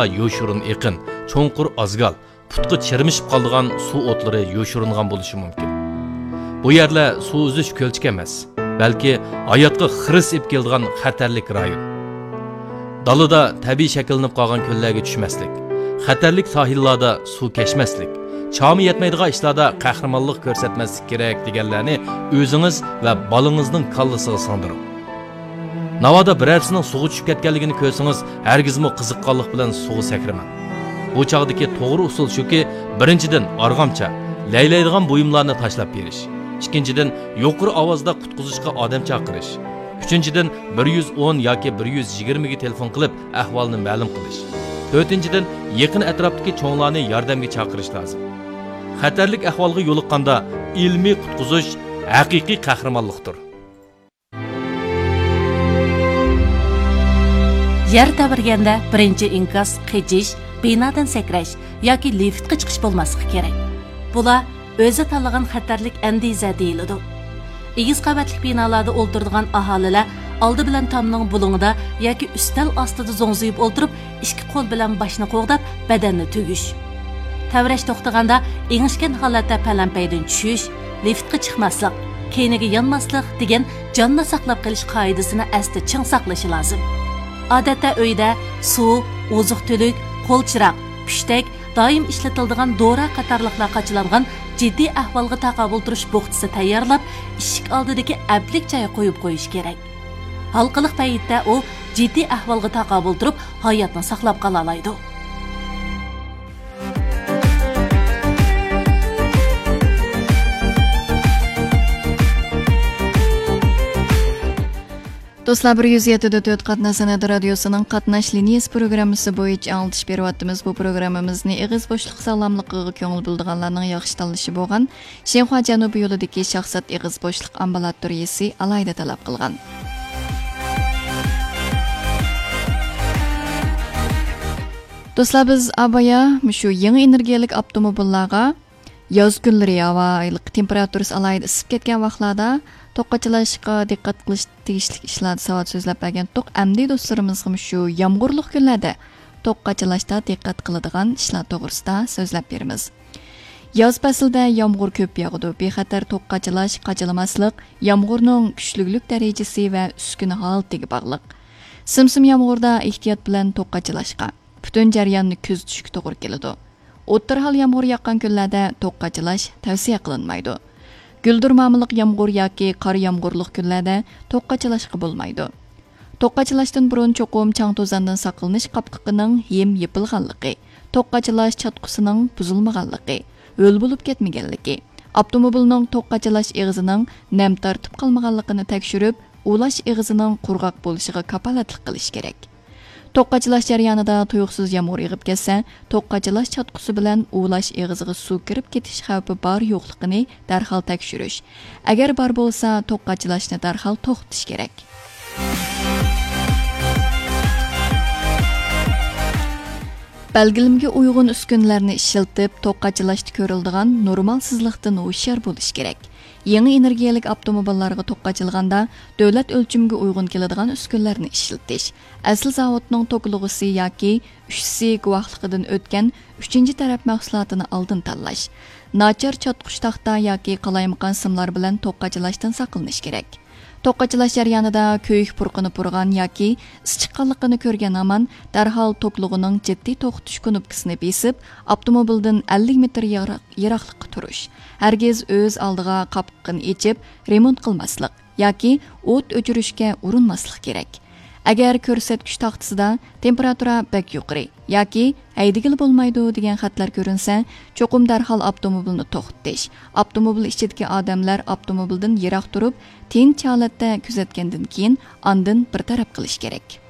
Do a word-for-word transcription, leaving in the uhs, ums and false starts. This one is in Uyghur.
يوشۇرۇن ئېقىن، چوڭقۇر ئازگال، پۇتقا چىرمىشىپ قالىدىغان سۇ ئوتلىرى يوشۇرۇنغان بولۇشى مۇمكىن. بۇ يەرلەر سۇ ئۈزۈش كۆلچىكى ئەمەس، بەلكى ھاياتقا خىرىس ئېلىپ كېلىدىغان خەتەرلىك رايون. دالىدا تەبىئىي شەكىللىنىپ قالغان كۆللەرگە چۈشمەسلىك، خەتەرلىك ساھىللاردا سۇ كەچمەسلىك، چامى يەتمەيدىغان ئىشلاردا قەھرىمانلىق كۆرسەتمەسلىك كېرەك دېگەنلەرنى ئۆزىڭىز ۋە بالىڭىزنىڭ كاللىسىغا سىڭدۈرۈڭ. ناۋادا بىرەرسىنىڭ سۇغا چۈشۈپ كەتكەنلىكىنى كۆرسىڭىز، ھەرگىزمۇ قىزىققانلىق بىلەن سۇغا سەكرىمەڭ. بۇ چاغدىكى توغرا ئۇسۇل شۇكى، بىرىنچىدىن، ئارغامچا، لەيلەيدىغان بۇيۇملارنى تاشلاپ بېرىش. ئىككىنچىدىن، يۇقىرى ئاۋازدا قۇتقۇزۇشقا ئادەم چاقىرىش. ئۈچىنچىدىن، بىر يۈز ئون ياكى بىر يۈز يىگىرمىگە تېلېفون قىلىپ، ئەھۋالنى مەلۇم قىلىش. تۆتىنچىدىن، يېقىن ئەتراپتىكى چوڭلارنى ياردەمگە چاقىرىش لازىم. خەتەرلىك ئەھۋالغا يولۇققاندا، ئىلمىي قۇتقۇزۇش ھەقىقىي قەھرىمانلىقتۇر. يەر تەۋرىگەندە بىرىنچى ئىنكاس قېچىش، بىنادىن سەكرەش ياكى لىفتقا چىقىش بولماسلىقى كېرەك. بۇلار ئۆزى تاللىغان خەتەرلىك ئەندىزە دېيىلىدۇ. ئېگىز قەۋەتلىك بىنالاردا ئولتۇرىدىغان ئاھالىلەر ئالدى بىلەن تامنىڭ بۇلۇڭىدا ياكى ئۈستەل ئاستىدا زوڭزىيىپ ئولتۇرۇپ، ئىككى قول بىلەن باشنى قوغداپ، بەدەننى تۈگۈش. تەۋرەش توختىغاندا ئېڭىشكەن ھالەتتە پەلەمپەيدىن چۈشۈش، لىفتقا چىقماسلىق، كەينىگە يانماسلىق دېگەن جاننى ساقلاپ قېلىش قائىدىسىنى ئەستە چىڭ ساقلىشى لازىم. ئادەتتە ئۆيدە سۇ، ئوزۇق-تۈلۈك، قول چىراغ، پۈشتەك، دائىم ئىشلىتىلىدىغان دورا قاتارلىقلار قاچىلانغان جىددىي ئەھۋالغا تاقابىل تۇرۇش بوخچىسى تەييارلاپ، ئىشىك ئالدىدىكى ئەپلىك جايغا قويۇپ قويۇش كېرەك. ھالقىلىق پەيتتە ئۇ جىددىي ئەھۋالغا تاقابىل تۇرۇپ، ھاياتنى ساقلاپ قالالايدۇ. دوستلار، بىر يۈز يەتتە دە تۆت قاتناش سەنئەت رادىيوسىنىڭ قاتناش لىنىيەسى پروگراممىسى بويىچە ئاڭلىتىش بېرىۋاتىمىز. بۇ پروگراممىمىزنى ئېغىز بوشلۇق ساغلاملىقىغا كۆڭۈل بۆلىدىغانلارنىڭ ياخشى تاللىشى بولغان شىنخۇا جەنۇبىي يولىدىكى شاھزات ئېغىز بوشلۇق ئامبۇلاتورىيىسى ئالاھىدە تەلەپ قىلغان. دوستلار، بىز ئابايا مۇشۇ يېڭى ئېنېرگىيەلىك ئاپتوموبىللارغا ياز كۈنلىرى ھاۋا ئايلىق تېمپېراتۇرىسى ئالاھىدە ئىسسىپ كەتكەن ۋاقىتلاردا توك قاچىلاشقا دىققەت قىلىش تېگىشلىك ئىشلاردا ساۋات سۆزلەپ بەرگەنتۇق. ئەمدى دوستلىرىمىزغىمۇ شۇ يامغۇرلۇق كۈنلەردە توك قاچىلاشتا دىققەت قىلىدىغان ئىشلار توغرىسىدا سۆزلەپ بېرىمىز. ياز پەسلىدە يامغۇر كۆپ ياغىدۇ. بىخەتەر توك قاچىلاش، قاچىلىماسلىق يامغۇرنىڭ كۈچلۈكلۈك دەرىجىسى ۋە ئۈسكۈنە ھالىتىگە باغلىق. سىم-سىم يامغۇردا ئېھتىيات بىلەن توك قاچىلاشقا، پۈتۈن جەرياننى كۆزىتىشكە توغرا كېلىدۇ. ئوتتۇرا ھال يامغۇر ياغقان كۈنلەردە توك قاچىلاش تەۋسىيە قىلىنمايدۇ. گۈلدۈرمامىلىق يامغۇر ياكى قار يامغۇرلۇق كۈنلەردە توك قاچىلاشقا بولمايدۇ. توك قاچىلاشتىن بۇرۇن چوقۇم چاڭ-توزاندىن ساقلىنىش قاپقىقىنىڭ ھىم يېپىلغانلىقى، توك قاچىلاش چاتقۇسىنىڭ بۇزۇلمىغانلىقى، ھۆل بولۇپ كەتمىگەنلىكى، ئاپتوموبىلنىڭ توك قاچىلاش ئېغىزىنىڭ نەم تارتىپ قالمىغانلىقىنى تەكشۈرۈپ، ئۇلاش ئېغىزىنىڭ قۇرغاق بولۇشىغا كاپالەتلىك قىلىش كېرەك. توك قاچىلاش جەريانىدا تۇيۇقسىز يامغۇر يېغىپ كەتسە، توك قاچىلاش چاتقۇسى بىلەن ئۇلاش ئېغىزىغا سۇ كىرىپ كېتىش خەۋپى بار يوقلۇقىنى دەرھال تەكشۈرۈش، ئەگەر بار بولسا، توك قاچىلاشنى دەرھال توختىتىش كېرەك. بەلگىلىمىگە ئۇيغۇن ئۈسكۈنىلەرنى ئىشلىتىپ، توك قاچىلاشتا كۆرۈلىدىغان نورمالسىزلىقتىن ھوشيار بولۇش كېرەك. يېڭى ئېنېرگىيەلىك ئاپتوموبىللارغا توك قاچىلىغاندا، دۆلەت ئۆلچىمىگە ئۇيغۇن كېلىدىغان ئۈسكۈنىلەرنى ئىشلىتىش، ئەسلى زاۋۇتنىڭ توكلىغۇسى ياكى ئۈچ سى گۇۋاھلىقىدىن ئۆتكەن ئۈچىنچى تەرەپ مەھسۇلاتىنى ئالدىن تاللاش، ناچار چاتقۇچ تاختا ياكى قالايمىقان سىملار بىلەن توك قاچىلاشتىن ساقلىنىش كېرەك. توك قاچىلاش جەريانىدا كۆيۈك پۇرىقىنى پۇرىغان ياكى ئىس چىققانلىقىنى كۆرگەن ھامان دەرھال توكلۇغىنىڭ جىددىي توختىتىش كۇنۇپكىسىنى بېسىپ، ئاپتوموبىلدىن ئەللىك مېتىر يىراق-، يىراقلىققا تۇرۇش. ھەرگىز ئۆز ئالدىغا قاپقىقىنى ئېچىپ، رېمونت قىلماسلىق ياكى ئوت ئۆچۈرۈشكە ئۇرۇنماسلىق كېرەك. ئەگەر كۆرسەتكۈچ تاختىسىدا تېمپېراتۇرا بەك يۇقىرى ياكى ھەيدىگىلى بولمايدۇ دېگەن خەتلەر كۆرۈنسە، چوقۇم دەرھال ئاپتوموبىلنى توختىتىش، ئاپتوموبىل ئىچىدىكى ئادەملەر ئاپتوموبىلدىن يىراق تۇرۇپ، تىنچ ھالەتتە كۆزەتكەندىن كېيىن، ئاندىن بىر تەرەپ قىلىش كېرەك.